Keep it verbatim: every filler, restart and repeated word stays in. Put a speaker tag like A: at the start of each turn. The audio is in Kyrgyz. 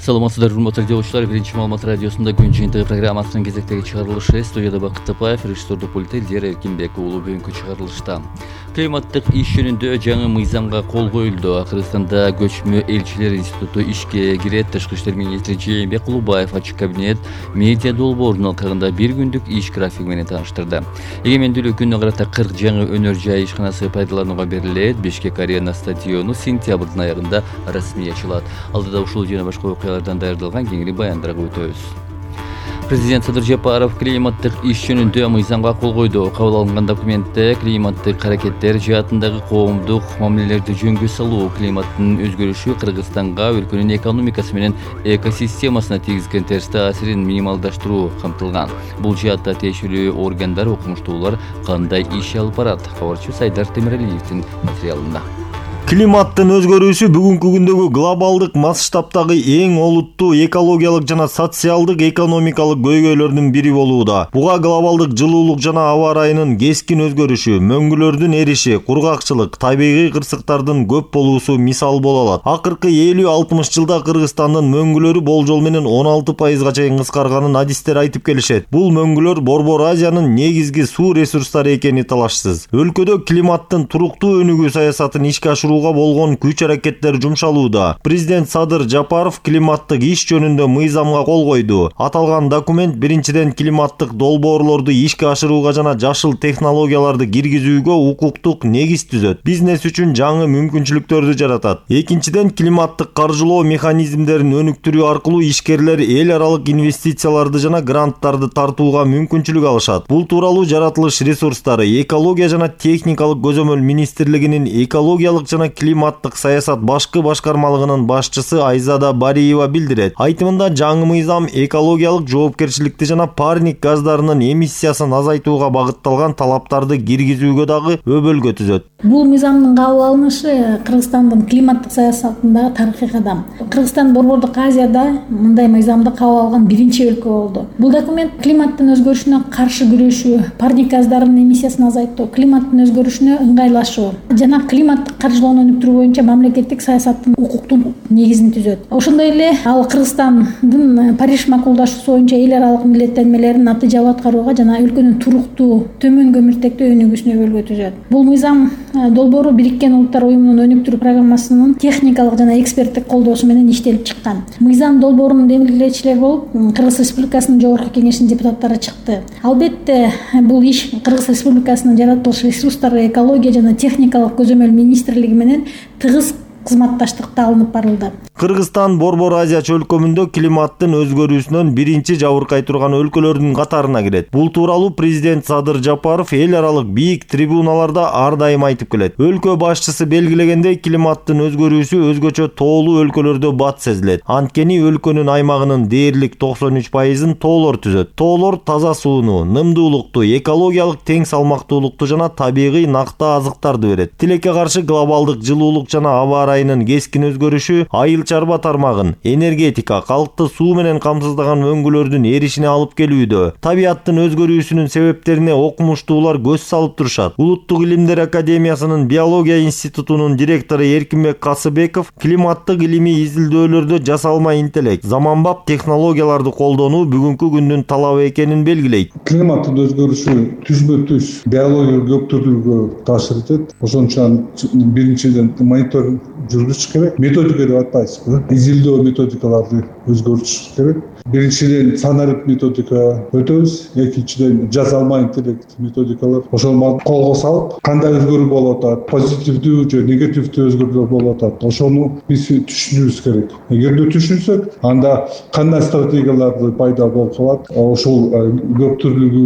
A: Саламатсыздар, урматтуу радиолучулар. Биринчи маалымат радиосунда күн жыйынтыгы программасынын кезектеги чыгарылышы. Студияда Бакыт Тапаев, режиссердик пультте Элдер Эркинбек уулу. Бүгүнкү чыгарылышта климаттык иш жөнүндө жаңы мыйзамга кол коюлду. Кыргызстанда көчмө элчилер институту ишке кирет. Тышкы иштер министри Жээнбек Кулубаев ачык кабинет медиа долбоорунун алкагында бир күндүк иш графиги менен тааныштырды. Эгемендүүлүк күнүнө карата кырк жаңы өнөр жай ишканасы пайдаланууга берилет. Бишкек арена стадиону сентябрдын аягында расмий ачылат. Алдыда ушул жана башка окуялардан даярдалган кеңири баяндарга өтөбүз. Президент Садыр Жапаров климаттык иш жөнүндө мыйзамга кол койду. Кабыл алынган документте климаттык аракеттер жаатындагы коомдук мамилелерди жөнгө салуу, климаттын өзгөрүшү Кыргызстанга, өлкөнүн экономикасы менен экосистемасына тийгизген терс таасирин минималдаштыруу камтылган. Бул жаатта тиешелүү органдар, окумуштуулар кандай иш алып барат? Кабарчы Сайдар Темиралиевдин материалында.
B: Климаттын өзгөрүүсү бүгүнкү күндөгү глобалдык масштабтагы эң олуттуу экологиялык жана социалдык экономикалык көйгөйлөрдүн бири болууда. Буга глобалдык жылуулук жана аба ырайынын кескин өзгөрүшү, мөңгүлөрдүн эриши, кургакчылык, табигый кырсыктардын көп болуусу мисал боло алат. Акыркы элүү алтымыш жылда Кыргызстандын мөңгүлөрү болжол менен он алты пайызга чейин кыскарганын адистер айтып келишет. Бул мөңгүлөр Борбор Азиянын негизги суу ресурстары экени талашсыз. Өлкөдө климаттын туруктуу өнүгүү саясатын ишке ашырууга болгон күч аракеттер жумшалууда. Президент Садыр Жапаров климаттык иш жөнүндө мыйзамга кол койду. Аталган документ биринчиден климаттык долбоорлорду ишке ашырууга жана жашыл технологияларды киргизүүгө укуктук негиз түзөт. Бизнес үчүн жаңы мүмкүнчүлүктөрдү жаратат. Экинчиден климаттык каржылоо механизмдерин өнүктүрүү аркылуу ишкерлер эл аралык инвестицияларды жана гранттарды тартууга мүмкүнчүлүк алышат. Бул тууралуу жаратылыш ресурстары, экология жана техникалык көзөмөл министрлигинин экологиялык жана климаттык саясат башкы башкармалыгынын башчысы Айзада Бариева билдирет. Айтымында жаңы мыйзам экологиялык жоопкерчиликти жана парник газдарынын эмиссиясын азайтууга багытталган талаптарды киргизүүгө дагы өбөлгө түзөт.
C: Бул мыйзамдын кабыл алынышы Кыргызстандын климаттык саясатындагы тарыхый кадам. Кыргызстан Борбордук Азияда мындай мыйзамды кабыл алган биринчи өлкө болду. Бул документ климаттын өзгөрүшүнө каршы күрөшүү, парник газдарынын эмиссиясын азайтуу, климаттын өзгөрүшүнө ыңгайлашуу жана климаттык каржылоону өнүктүрүү боюнча мамлекеттик саясаттын укуктун негизин түзөт. Ошондой эле ал Кыргызстандын Париж макулдашуусу боюнча эл аралык милдеттенмелерин натыйжалуу аткарууга жана өлкөнүн туруктуу, төмөн көмүртектүү өнүгүүсүнө өбөлгө түзөт. Бул мыйзам долбоору Бириккен Улуттар уюмунун өнүктүрүү программасынын техникалык жана эксперттик колдоосу менен иштелип чыккан. Мыйзам долбоорунун демилгелечилери болуп Кыргыз Республикасынын Жогорку Кеңешинин депутаттары чыкты. Албетте бул иш Кыргыз Республикасынын жаратылыш ресурстары, экология жана техникалык көзөмөл министрлиги менен тыгыз кызматташтыкта алынып барылды.
B: Кыргызстан Борбор Азия чөлкөмүндө климаттын өзгөрүүсүнөн биринчи жабыркай турган өлкөлөрдүн катарына кирет. Бул тууралуу президент Садыр Жапаров эл аралык бийик трибуналарда ар дайым айтып келет. Өлкө башчысы белгилегендей, климаттын өзгөрүүсү өзгөчө тоолуу өлкөлөрдө бат сезилет. Анткени өлкөнүн аймагынын дээрлик токсон үч пайызын тоолор түзөт. Тоолор таза сууну, нымдуулукту, экологиялык тең салмактуулукту жана табигый накта азыктарды берет. Тилекке каршы глобалдык жылуулук жана аба ырайынын кескин өзгөрүшү айыл чарба тармагын, энергетика, калкты суу менен камсыздаган мөңгүлөрдүн эришине алып келүүдө. Табияттын өзгөрүүсүнүн себептерине окумуштуулар көз салып турушат. Улуттук илимдер академиясынын биология институтунун директору Эркинбек Касыбеков климаттык илимий изилдөөлөрдө жасалма интеллект, заманбап технологияларды колдонуу бүгүнкү күндүн талабы экенин белгилейт.
D: Климаттын өзгөрүшү түзмө-түз биологиялык көптүрүүгө таасир этет. Ошон үчүн биринчиден мониторинг жүргүзүш керек. Методика деп атпайсызбы? Изилдөө методикаларды өзгөртүш керек. Биринчиден санарип методика өтөбүз, экинчиден жасалма интеллект методикалар. Ошону колго салып, кандай өзгөрүү болуп атат, позитивдүү же негативдүү өзгөрүүлөр болуп атат, ошону биз түшүнүбүз керек. Эгерде түшүнсөк, анда кандай стратегияларды пайда болуп калат, ошол көп түрлүү